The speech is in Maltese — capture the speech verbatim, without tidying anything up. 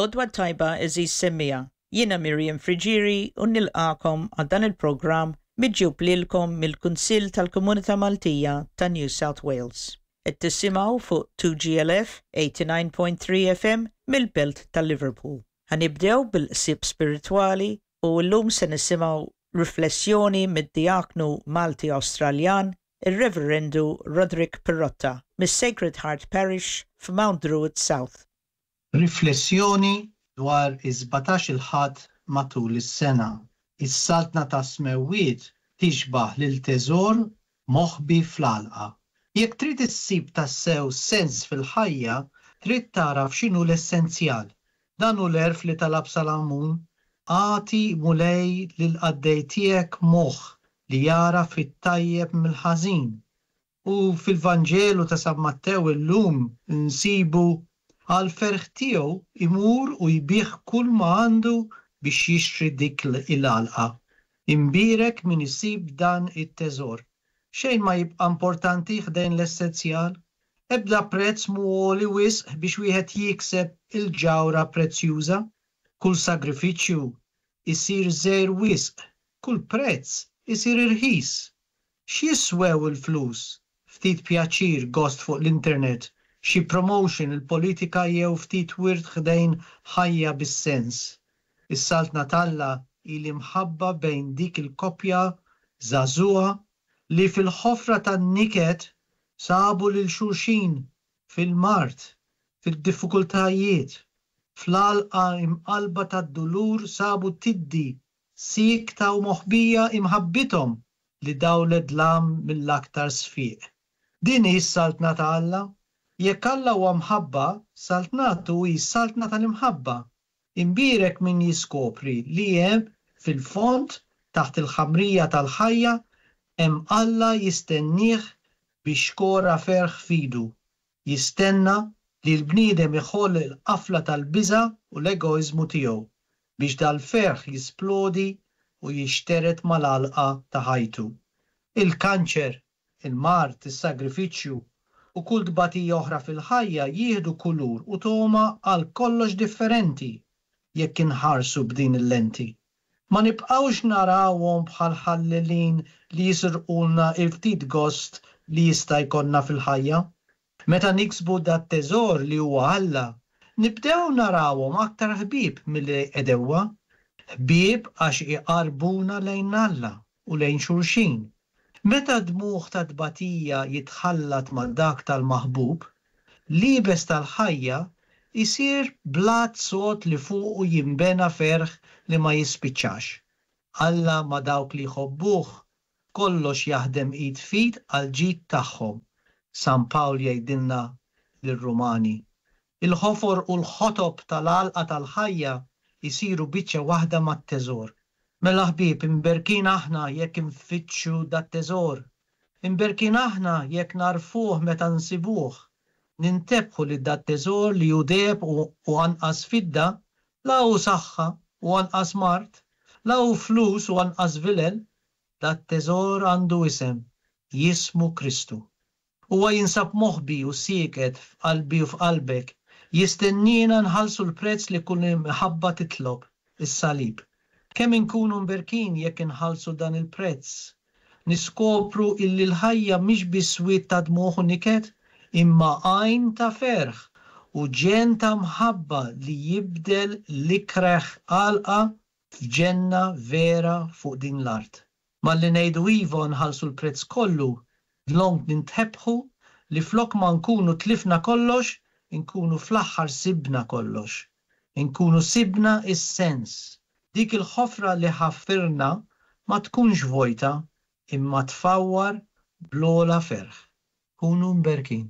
L-għodwa t-tajba, għeżież semmiegħa. Jiena Miriam Friggieri u nilqagħkom għal dan il-programm miġjub lilkom mill-Kunsill tal-Komunità Maltija ta' New South Wales. Qed tisimgħu fuq two G L F eighty-nine point three F M mill-Belt ta' Liverpool. Ħa nibdew bil-ħsieb spiritwali u llum se nisimgħu riflessjoni mid-diaknu Malti Awstraljan, ir-Reverendu Roderick Pirotta, mis-Sacred Heart Parish f'Mount Druitt South. Riflessjoni dwar is-sbatax-il Ħadd matul is-sena. Is-saltna tas-smewwiet tixbah lil teżor moħbi fl-għalqa. Jekk trid issib tassew sens fil-ħajja, trid tagħraf x'inhu l-essenzjal. Dan hu l-għerf li talab Salamun: "Agħti, Mulej, lil qaddej tiegħek moħħ li jagħraf it-tajjeb mill-ħażin." U fil-Vanġelu ta' San Mattew illum nsibu: "Għal ferħ tiegħu imur u jbigħ kull ma għandu biex jixtri dik il-għalqa." Imbierek min isib dan it-teżor. Xejn ma jibqa' importanti ħdejn l-essenzjal. Ebda prezz mhu għoli wisq biex wieħed jikseb il-ġawhra prezzjuża. Kull sagrifiċċju isir żgħir wisq, kull prezz isir irħis. X'jiswew il-flus? Ftit pjaċir, gost fuq l-internet, xi promotion, il-politika jew ftit wirt ħdejn ħajja bis-sens? Is-saltna t'Alla hi l-imħabba bejn dik il-koppja żagħżugħa li fil-ħofra tan-niket sabu lil xulxin fil-mard, fil-diffikultajiet, fl-għalqa imqalba tad-dulur sabu tiddi siekta u moħbija imħabbithom li dawlet dlam mill-aktar sfiq. Din hi s-saltna ta' Alla. Jekk Alla huwa mħabba, saltnatu hi saltna tal-imħabba. Imbierek min jiskopri li hemm fil-fond taħt il-ħamrija tal-ħajja hemm Alla jistennieh bi xkora ferħ f'idu. Jistenna li l-bniedem iħoll il-qafla tal-biża u l-egoizmu tiegħu biex dal-ferħ jisplodi u jixteret mal-għalqa ta' ħajtu. Il-kanċer, il-mard, is-sagrifiċċju u kull tbatija oħra fil-ħajja jieħdu kulur u togħma għal kollox differenti jekk inħarsu b'din il-lenti. Ma nibqgħux narawhom bħal ħallelin li jisirqulna il-ftit gost li jista' jkollna fil-ħajja. Meta niksbu dat teżor li huwa Alla, nibdew narawhom aktar ħbieb milli għedewwa. Ħbieb għax iqarbuna lejn Alla u lejn xulxin. Meta dmugħ ta' tbatija jitħallat ma' dak tal-maħbub, l-iebes tal-ħajja isir blat sod li fuqu jimbena ferħ li ma jispiċċax. Alla ma' dawk li jħobbuh, kollox jaħdem id f'id għal ġid tagħhom. San Pawl jgħidilna lir-Rumani. Il-ħofor u l-ħotob tal-għalqa tal-ħajja jisiru biċċa waħda mat-teżor. Mela ħbieb, imberkin aħna jekk infittxu dat-teżor. Imberkin aħna jekk nagħrfuh meta nsibuh. Nintebħu li dat-teżor li hu deheb u anqas fidda, la hu saħħa u anqas mard, la hu flus u anqas vilel, dat-teżor għandu isem, jismu Kristu. Huwa jinsab moħbi u sieket f'qalbi u f'qalbek, jistenniena nħallsu l-prezz li kull imħabba titlob, is-salib. Kemm inkunu mberkin jekk inħallsu dan il-prezz? Niskopru illi l-ħajja mhix biss wied ta' dmugħ u niket, imma għajn ta' ferħ u ġenn ta' mħabba li jibdel l-ikreh għalqa f'ġenna vera fuq din l-art. Malli ngħidu iva nħallsu l-prezz kollu, dlonk nintebħu li flok ma nkunu tlifna kollox, inkunu fl-aħħar sibna kollox. Inkunu sibna is-sens. Dik il-ħofra li ħaffirna ma tkunx vojta imma tfawwar bl-ogħla ferħ. Kunu mberkin.